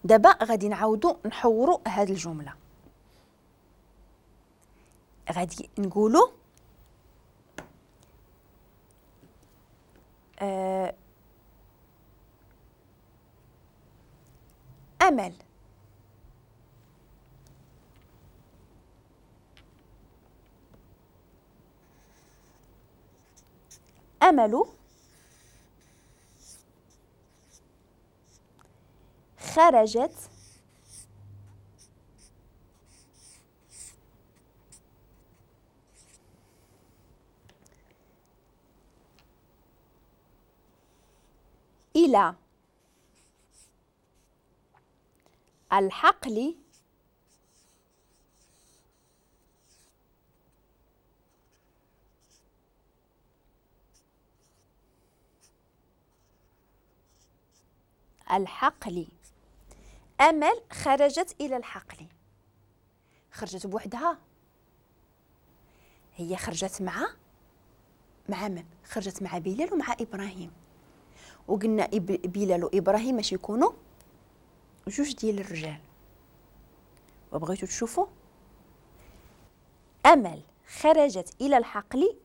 دابا غادي نعاودو نحورو هاد الجملة، غادي نقولو أمل أمل خرجت إلى الحقل الحقل. أمل خرجت إلى الحقل، خرجت بوحدها، هي خرجت مع من؟ خرجت مع بلال ومع إبراهيم، وقلنا بلال وإبراهيم باش يكونوا جوج ديال الرجال. وبغيتو تشوفوا أمل خرجت إلى الحقل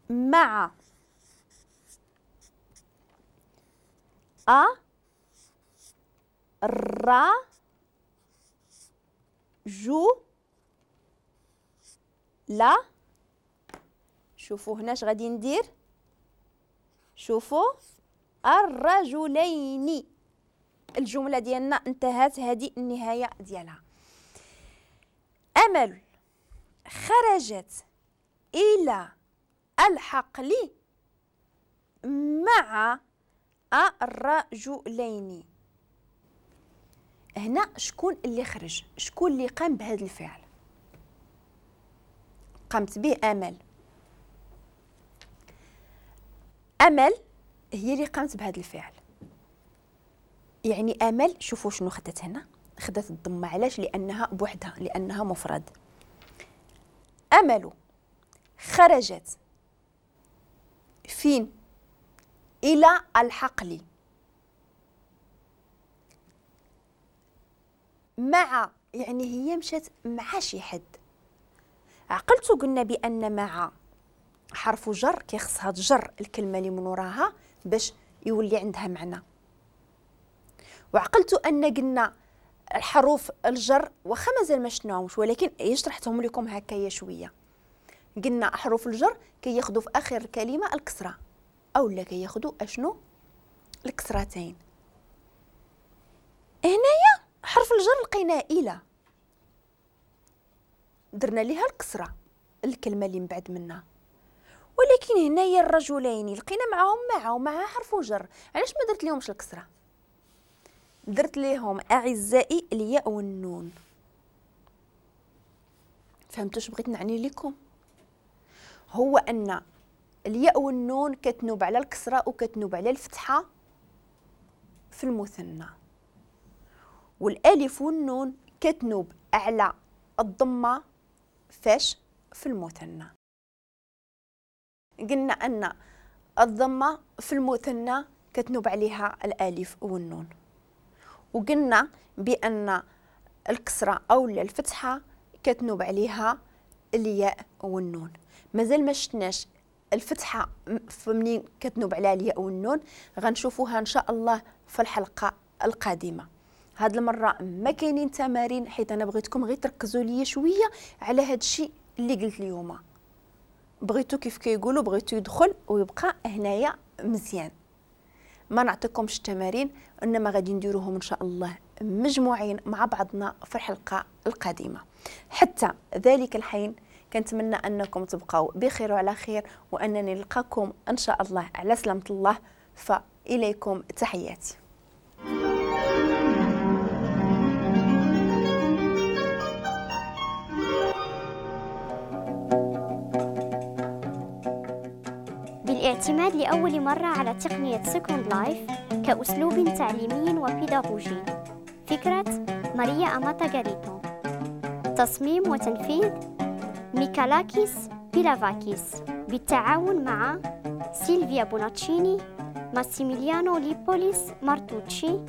مع أ را جو لا. شوفوا هنا اش غادي ندير، شوفوا الرجلين. الجملة ديالنا انتهت، هذه النهاية ديالها. أمل خرجت إلى الحقل مع الرجلين. هنا شكون اللي خرج؟ شكون اللي قام بهذا الفعل؟ قامت به أمل. أمل هي اللي قامت بهذا الفعل، يعني أمل شوفوا شنو خدت هنا، خدت الضمة. علاش؟ لأنها بوحدها، لأنها مفرد. أمل خرجت فين؟ إلى الحقل مع، يعني هي مشات مع شي حد. عقلتو قلنا بأن مع حرف جر كيخصها تجر الكلمة اللي من وراها باش يولي عندها معنى. وعقلتو أن قلنا الحروف الجر واخا مازال ما شفناهمش، ولكن شرحتهم لكم هكايا شوية. قلنا حروف الجر كياخذوا في اخر الكلمة الكسرة، او لا كياخذوا اشنو؟ الكسرتين. هنايا حرف الجر لقيناه الى، درنا ليها الكسرة الكلمة اللي من بعد منها، ولكن هنايا الرجلين لقينا معاهم مع ومع حرف جر، علاش ما درت ليهمش الكسرة؟ درت ليهم اعزائي الياء والنون. فهمتوا اش بغيت نعني لكم؟ هو ان الياء والنون كتنوب على الكسرة وكتنوب على الفتحة في المثنى، والالف والنون كتنوب على الضمة فاش في المثنى. قلنا ان الضمة في المثنى كتنوب عليها الالف والنون، وقلنا بان الكسرة او الفتحة كتنوب عليها الياء والنون. مازال ما شفناش الفتحة منين كتنوب عليها الياء والنون، غنشوفوها ان شاء الله في الحلقة القادمة. هاد المرة ما كاينين تمارين، حيت انا بغيتكم غير تركزوا ليا شوية على هاد الشيء اللي قلت اليوم. بغيتو كيف كيقولوا بغيتو يدخل ويبقى هنايا مزيان. ما نعطيكمش التمارين، انما غادي نديروهم ان شاء الله مجموعين مع بعضنا في الحلقة القادمة. حتى ذلك الحين كنتمنى انكم تبقاو بخير وعلى خير، وانني نلقاكم ان شاء الله على سلامه الله. فاليكم تحياتي. بالاعتماد لأول مرة على تقنية Second Life كأسلوب تعليمي وبيداغوجي. فكرة ماريا أماتا غاريتو. تصميم وتنفيذ ميكالاكيس بيلافاكيس بالتعاون مع سيلفيا بوناتشيني، ماسيميليانو ليبوليس مارتوتشي.